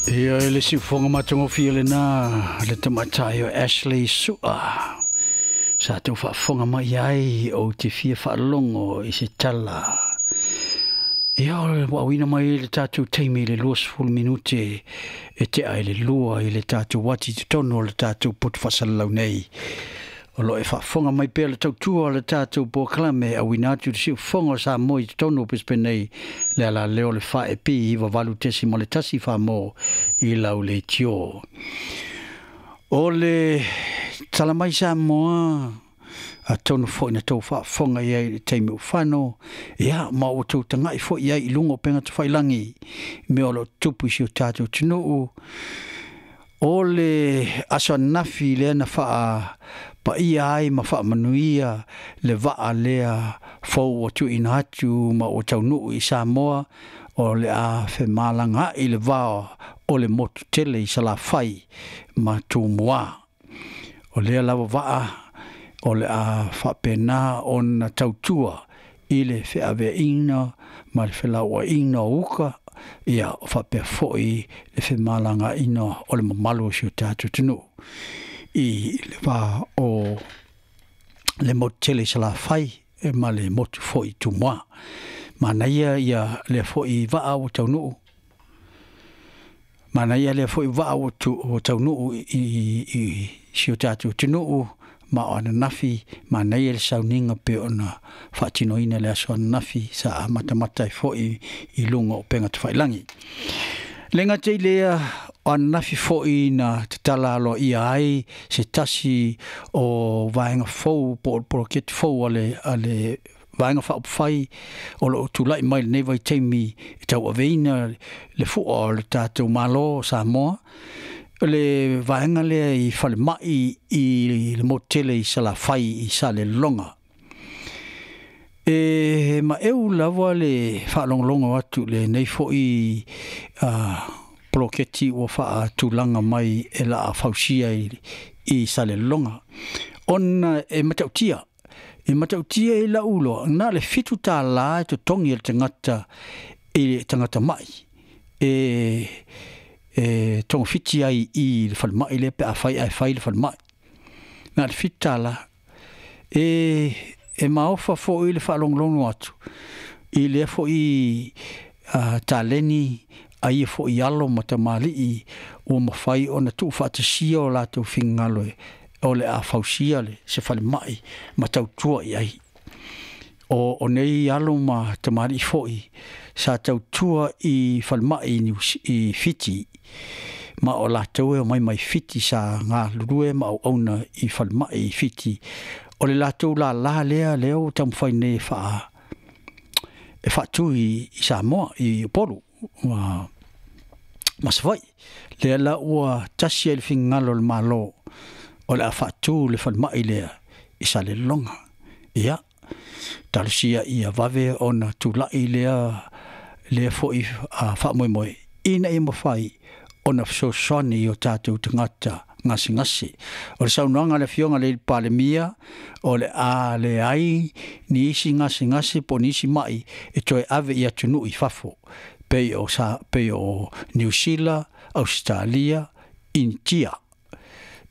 Ia e le siufoga matagofie lena le tamaitai o Ashley Sua sa tou faafofoga mai ai ou te fia faalogo i se tala. Ia ua auina mai le tatou taimi i le 20 minute e tea i le 2 i le tatou ati i totonu o le tatou poto faasalalau nei. O lo o e faafofoga mai pea le tautua o le tatou polokalame auina atu i le siufofoga o Samoa i totonu o Brisbane nei, le alaleo o le 4AP 98.1 Samoa i lau leitio. O le tala mai Samoa, atonu foi na tou faafofoga i ai i le taimi ua fano, ia, ma ua tou tagai foi i ai i luga o upega tafailagi, mea o lo o tutupu i si o tatou atunuu. O le aso ananafi lea na faapaia ai ma faamanuia le vaa lea fou ua tuuina atu ma ua taunuu i Samoa, o le a femalagaai le va o le motu tele i Salafai ma Tumua. O lea lava vaa o le a faapena ona tautua i le feaveaiina ma le felauaiga o uka, ia faapea foi le femalagaaiga o le mamalu o si o tatou atunuu i le va o le motu tele i Salafai ma le motu foi i Tumua. Manaia ia lea foi vaa ua taunuu, manaia lea foi vaa ua taunuu i si o tatou atunuu ma o ananafi, manaia le sauniga pe ona faatinoina le aso ananafi sa amatamata ai foi i luga o upega tafailagi. Le gata i lea, o ananafi foi na tatala aloaia ai se tasi o vaega fou po o le poloketi fou a le Vaega Faaupufai o lo o tulai mai i lenei vaitaimi e tauaveina le fua o le tatou Malo o Samoa, o le vaega lea i falemai i le motu tele i Salafai i Salelologa. E maeu lava le faalogologo atu i lenei foi poloketi ua faatulaga mai e laa fausia i Salelologa, ona e matautia. E matautia i lau iloa, na o le $7 e totogi e le tagata i le tagata mai e togafiti ai i le falemai lea pe afai ae fai le falemai. Na o le $7. E maofa foi le faalogologo atu i lea foi taleni a ia foi alo ma tamalii ua mafai ona tuufaatasia o latou finagalo o le a fausia le se falemai ma tautua i ai. O nei alo ma tamalii foi sa tautua i falemai i Fiti, ma o latou e omai mai Fiti sa galulue ma auauna i falemai i Fiti. O le latou lala lea lea ua taumafai nei e faatu i Samoa, i Upolu ma Savaii. Lea la ua tasi ai le finagalo o le Malo o le a faatu le falemai lea i Salelologa. Ia, talosia ia vave ona tulai lea foi faamoemoe ina ia mafai ona fesoasoani i o tatou tagata gasegase. O le saunoaga a le Afioga i le Palemia, o le a leai ni isi gasegase po o ni isi mai e toe ave i atunuu i fafo, pei o Niu Sila, Ausetalia, Initia,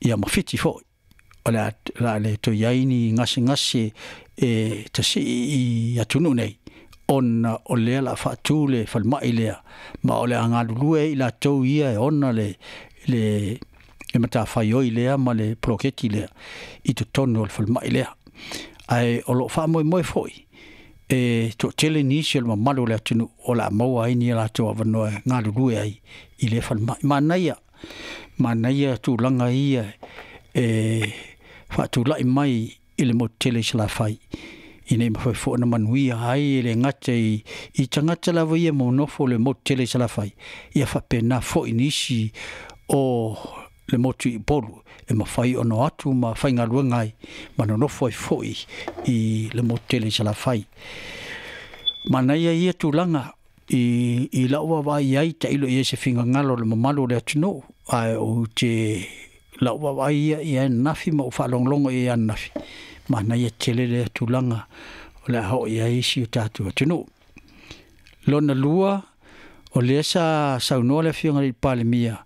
ia ma Fiti foi. O le a le toe i ai ni gasegase e tasii i atunuu nei, ona o lea la faatu le falemai lea, ma o le a galulue i latou ia e ona le matafaioi lea ma le poloketi lea i totonu o le falemai lea. Ae o lo o faamoemoe foi e toatele nisi o le mamalu o le atunuu o le a maua ai ni latou avanoa e galulue ai i lea falemai. Manaia tulaga ia e faatulai mai i le motu tele i Salafai, ina ia mafai foi ona manuia ai e le gata i tagata lava ia ma nofo le motu tele i Salafai, ia faapena foi nisi o le motu i Upolu e mafai ona o atu ma faigaluega ai ma nonofo ai foi i le motu tele i Salafai. Manaia ia tulaga i lau vaavaai ai, tailo i ai se finagalo o le mamalu o le atunuu, ae ou te lau vaavaai ia i ananafi ma ou faalogologo i ai ananafi. Manaia tele lea tulaga o le a oo i ai isi o tatou atunuu. Lona lua, O lea sa saunoa le Afioga i le Palemia,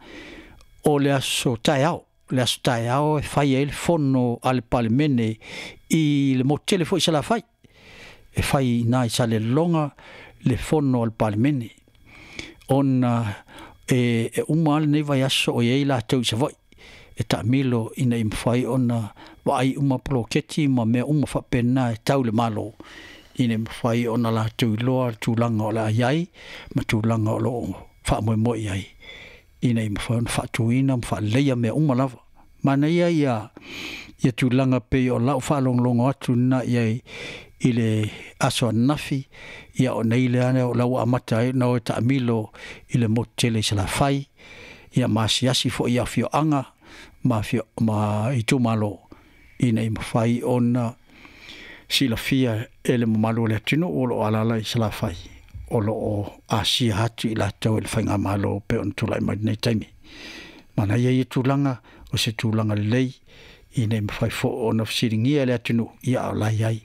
o le aso taeao, le aso taeao e fai ai le fono a le Palemene i le motu tele foi i Salafai, e fai i ina i Salelologa le fono a le Palemene, ona e uma lava lenei vaiaso o i ai latou i Savaii e taamilo ina ia mafai ona vaai uma poloketi ma mea uma faapena e tau i le Malo, ina ia mafai ona latou iloa le tulaga o le a i ai ma tulaga o lo o faamoemoe i ai, ina ia mafai ona faatuina ma faaleleia mea uma lava. Manaia ia tulaga pei o lau faalogologo atu lena i ai i le aso ananafi, ia o nei lea o la ua amata ai ona o e taamilo i le motu tele i Salafai, ia ma asiasi foi i afioaga ma itumalo, ina ia mafai ona silafia e le mamalu o le atunuu o lo o alaala i Salafai, o lo o asia atu i latou e le faigamalo pei ona tulai mai lenei taimi. Manaia ia tulaga, o se tulaga lelei ina ia mafai foi ona fesiligia e le atunuu, ia a o la e i ai.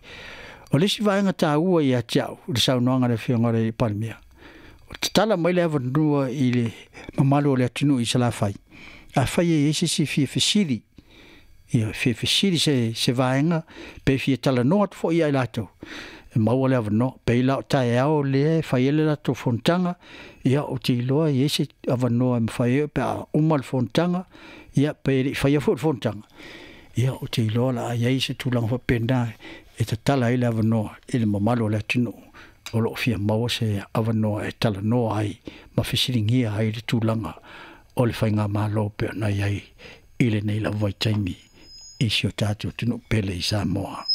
O le isi vaega taua ia te au i le saunoaga a le Afioga i le Palemia, o tatala mai le avanoa i le mamalu o le atunuu i Salafai, afai e i ai se isi e fia fesili, ia fia fesili se vaega, pe fia talanoa atu foi ia i latou, e maua le avanoa. Pei la o taeao lea e fai ai le latou fonotaga, ia ou te iloa e i ai se avanoa e mafai ai pe a uma le fonotaga, ia pe le i faia foi le fonotaga, ia ou te iloa o le a i ai se tulaga faapena e tatala ai le avanoa i le mamalu o le atunuu o lo o fia maua se avanoa e talanoa ai ma fesiligia ai le tulaga o le faigamalo pei ona i ai i lenei lava vaitaimi i si o tatou atunuu pele i Samoa.